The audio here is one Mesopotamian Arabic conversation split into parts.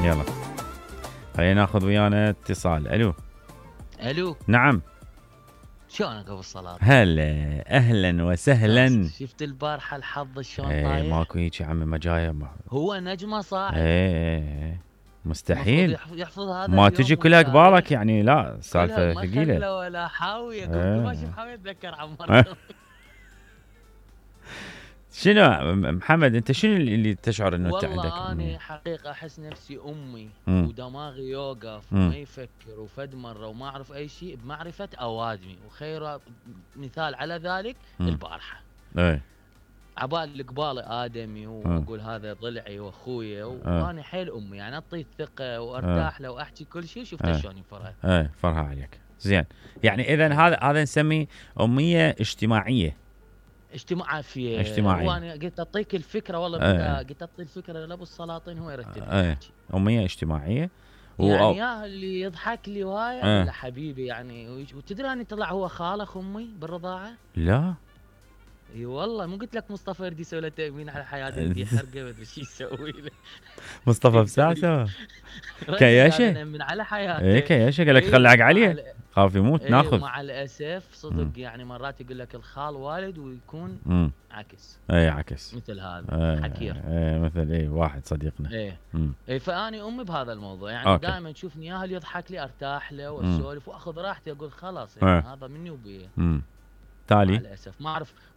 يلا خلينا ناخذ ويانا اتصال. الو. نعم. شلونك ابو الصلاة؟ هلا اهلا وسهلا. شفت البارحة الحظ شلون ايه طايح؟ ماكو هيك يا عمي مجاية هو نجمة صاعد. ايه مستحيل يحفظ هذا ما تجي كلها قبالك يعني. لا سالفة ثقيلة. ما ولا حاوية. كل ما اشوف حاوية اتذكر عمار. شنو محمد انت شنو اللي تشعر انه انت عندك؟ والله انا حقيقة احس نفسي امي ودماغي يوقف وما يفكر وفد مرة وما اعرف اي شيء بمعرفة اوادمي، وخير مثال على ذلك البارحة. ايه عبال القبال ادمي واقول هذا ضلعي واخويا وانا حيل امي يعني اعطيه الثقة وارتاح له واحكي كل شيء. شفت شلون يفرح. فرها عليك زين. يعني اذا هذا نسميه امية اجتماعية. اجتماعية. وانا قلت اعطيك الفكره والله قلت اعطي الفكره لابو السلاطين هو يرتب. امية اجتماعية يعني يا اللي يضحك لي وهاي لا حبيبي يعني. وتدري اني طلع هو خال امي بالرضاعه. لا اي والله مو قلت لك مصطفى يرد يسوي له تامين على حياته انت حرقه ما ادري شو يسوي له. مصطفى بساسه كياشه من على حياته. ايه كياشه قال لك خلعك عليه خاف يموت ناخذ. مع الاسف صدق يعني مرات يقول لك الخال والد ويكون عكس. عكس مثل هذا حكير. مثل واحد صديقنا. فاني امي بهذا الموضوع يعني دائما تشوفني اياها اللي يضحك لي ارتاح له واسولف واخذ راحتي اقول خلاص يعني هذا مني وبيه. تالي مع الاسف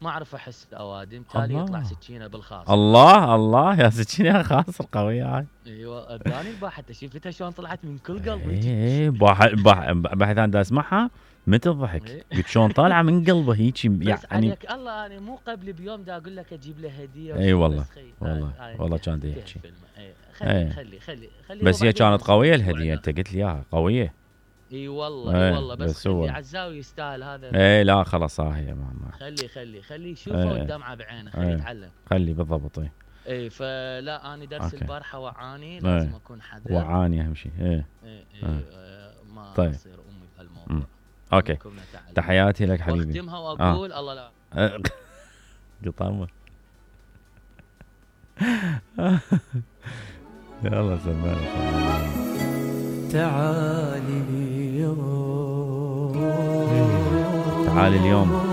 ما اعرف احس الاوادم. تالي يطلع سكينه بالخاص. الله يا سكينه خاص القويه هاي. ايوه اداني الباحه شفتها شلون طلعت من كل قلب. باحث انا دا اسمعها متى الضحك قلت شلون طالعه من قلبه هيك يعني. عليك الله انا مو قبل بيوم دا اقول لك اجيب له هديه. اي والله والله كان دا يحكي. خلي بس هي كانت قويه الهديه. انت قلت لي اياها قويه. اي والله بس خلي عزاوي يستاهل هذا. لا خلاص هي ماما. خلي يشوفه والدمعه بعينه. خلي يتعلم. خلي بالضبط. اي فلا انا درس البارحه وعاني لازم اكون حذر. وعاني اهم شيء. ما طيب. تصير امي بهالموضوع. اوكي تحياتي لك حبيبي. واختمها واقول الله لا قطامه. يلا سمعنا. تعالي اليوم